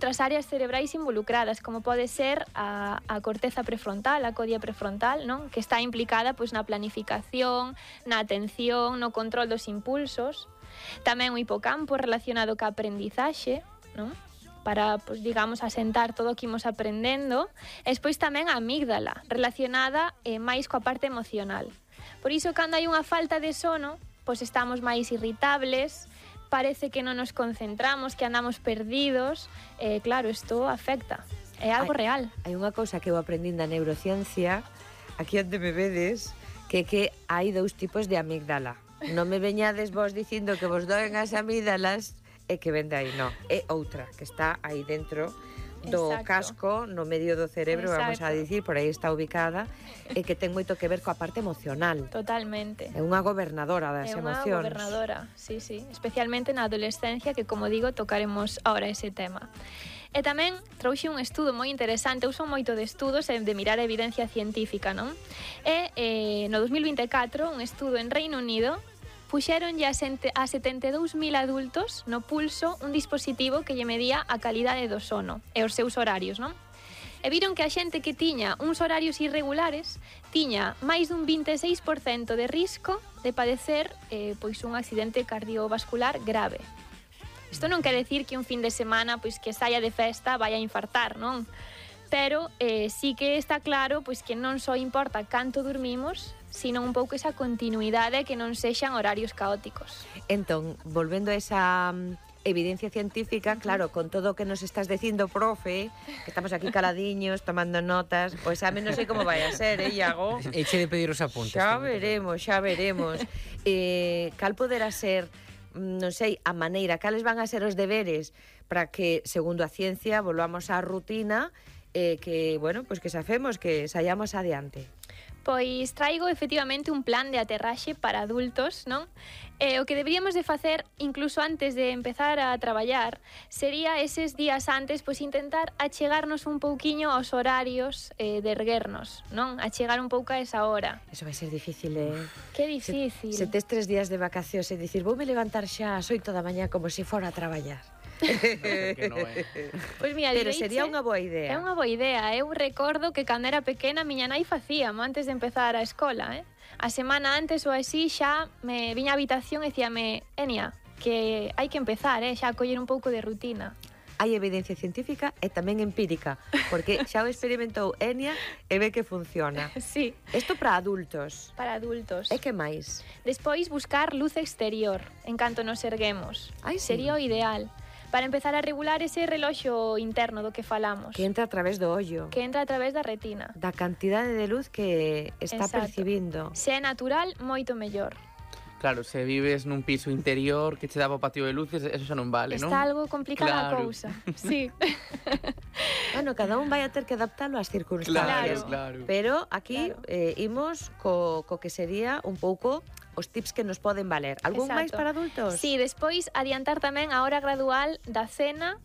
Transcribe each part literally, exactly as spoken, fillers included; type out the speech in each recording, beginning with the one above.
outras áreas cerebrais involucradas, como pode ser a, a corteza prefrontal, a codia prefrontal, non? Que está implicada pois, na planificación, na atención, no control dos impulsos. Tamén o hipocampo relacionado ca aprendizaxe, non? Para, pois, digamos, asentar todo o que imos aprendendo. E despois tamén a amígdala, relacionada eh, máis coa parte emocional. Por iso, cando hai unha falta de sono, pois estamos máis irritables, parece que non nos concentramos, que andamos perdidos, eh, claro, isto afecta, é algo hai, real. Hai unha cousa que eu aprendín da neurociencia, aquí onde me vedes, que que hai dous tipos de amígdala. Non me veñades vos dicindo que vos doen as amígdalas e que vende aí, non, é outra, que está aí dentro do Exacto. casco, no medio do cerebro, Exacto. vamos a dicir, por aí está ubicada, e que ten moito que ver coa parte emocional. Totalmente. É unha gobernadora das É unha emocións. gobernadora, sí, sí, especialmente na adolescencia, que, como digo, tocaremos ahora ese tema. E tamén trouxe un estudo moi interesante, eu son moito de estudos e de mirar a evidencia científica, non? E eh, no dos mil vinte e catro, un estudo en Reino Unido, puxéronlle a, a setenta e dous mil adultos no pulso un dispositivo que lle medía a calidade do sono e os seus horarios, non? E viron que a xente que tiña uns horarios irregulares tiña máis dun vinte e seis por cento de risco de padecer eh, pois un accidente cardiovascular grave. Isto non quer decir que un fin de semana pois que saia de festa vai a infartar, non? Pero eh, sí que está claro pois que non só importa canto dormimos, sino un pouco esa continuidade, que non sexan horarios caóticos. Entón, volvendo a esa um, evidencia científica, claro, con todo o que nos estás dicindo, profe, que estamos aquí caladiños, tomando notas, pois pues, a mí non sei como vai a ser, eh, Iago? Eche de pedir os apuntes. Xa veremos, xa veremos. eh, cal poderá ser, non sei, a maneira, cales van a ser os deberes para que, segundo a ciencia, volvamos á rutina, eh, que, bueno, pois pues que safemos, que saíamos adiante. Pois traigo efectivamente un plan de aterraxe para adultos, non? E o que deberíamos de facer, incluso antes de empezar a traballar, sería eses días antes, pois intentar achegarnos un pouquiño aos horarios eh, de erguernos, non? Achegar un pouco a esa hora. Eso vai ser difícil, eh? Que difícil. Se, se tes tres días de vacacións e dicir, voume levantar xa ás oito da mañá como se fora a traballar. Que no é. Pois mira, pero direiche, sería unha boa idea. É unha boa idea. Eu recordo que cando era pequena miña nai facíamos antes de empezar a escola, eh? A semana antes ou así xa me viña á habitación e dicíame, Enia, que hai que empezar, eh? Xa a coller un pouco de rutina. Hai evidencia científica e tamén empírica, porque xa o experimentou Enia e ve que funciona. Sí. Isto para adultos. Para adultos. E que máis? Despois buscar luz exterior en canto nos erguemos. Ai, sí. Sería o ideal. Para empezar a regular ese reloxo interno do que falamos. Que entra a través do ollo. Que entra a través da retina. Da cantidade de luz que está Exacto. percibindo. Se é natural, moito mellor. Claro, se vives nun piso interior que che dá o patio de luces, eso xa non vale, non? Está algo complicada a Claro. cousa. Sí. Bueno, cada un vai a ter que adaptalo ás circunstancias. Claro, claro. Pero aquí Claro. eh, imos co, co que sería un pouco os tips que nos poden valer. Algún Exacto. máis para adultos? Sí, despois adiantar tamén a hora gradual da cena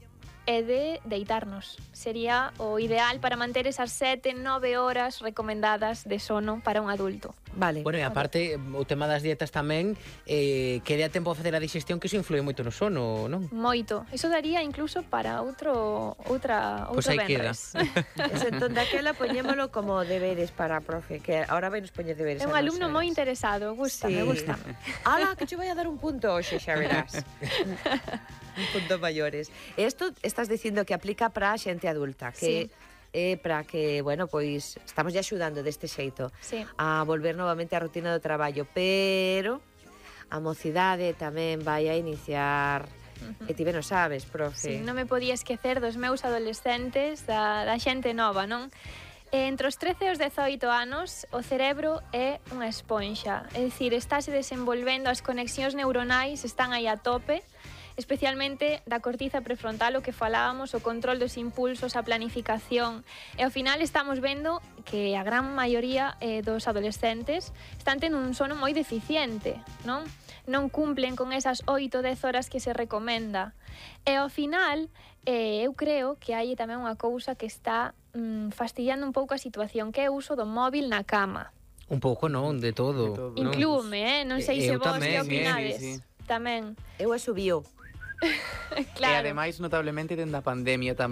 e de deitarnos. Sería o ideal para manter esas sete, nove horas recomendadas de sono para un adulto. Vale. Bueno, e aparte, o tema das dietas tamén, eh, que dé a tempo a facer a digestión, que iso influe moito no sono, non? Moito. Eso daría incluso para outro outra Pois outro aí queda. venres. Eso, entón, daquela poñémolo como deberes para a profe, que ahora vai nos poñer deberes. É un a alumno nosotras. moi interesado, gusta, Sí. me gusta. Ala, que te vai a dar un punto hoxe, xa verás. Un punto maiores. E isto estás dicindo que aplica para a xente adulta, que Sí. é para que, bueno, pois estamos ya axudando deste xeito Sí. a volver novamente á rutina do traballo, pero a mocidade tamén vai a iniciar. Uh-huh. E ti ben o sabes, profe. Sí, non me podía esquecer dos meus adolescentes, da, da xente nova, non? E entre os trece e os dezoito anos, o cerebro é unha esponxa. É dicir, estáse desenvolvendo, as conexións neuronais están aí a tope, especialmente da cortiza prefrontal, o que falábamos, o control dos impulsos, a planificación. E ao final estamos vendo que a gran maioría eh, dos adolescentes están tendo un sono moi deficiente, non? Non cumplen con esas oito, dez horas que se recomenda. E ao final, eh, eu creo que hai tamén unha cousa que está mm, fastidiando un pouco a situación, que é o uso do móvil na cama. Un pouco non, de todo. De todo. Non? Inclúme, eh? Non sei Eh, se eu vos tamén, que eh, opinades. sí, sí. Tamén. Eu a subiu. E Claro. ademais, notablemente, dende a pandemia tamén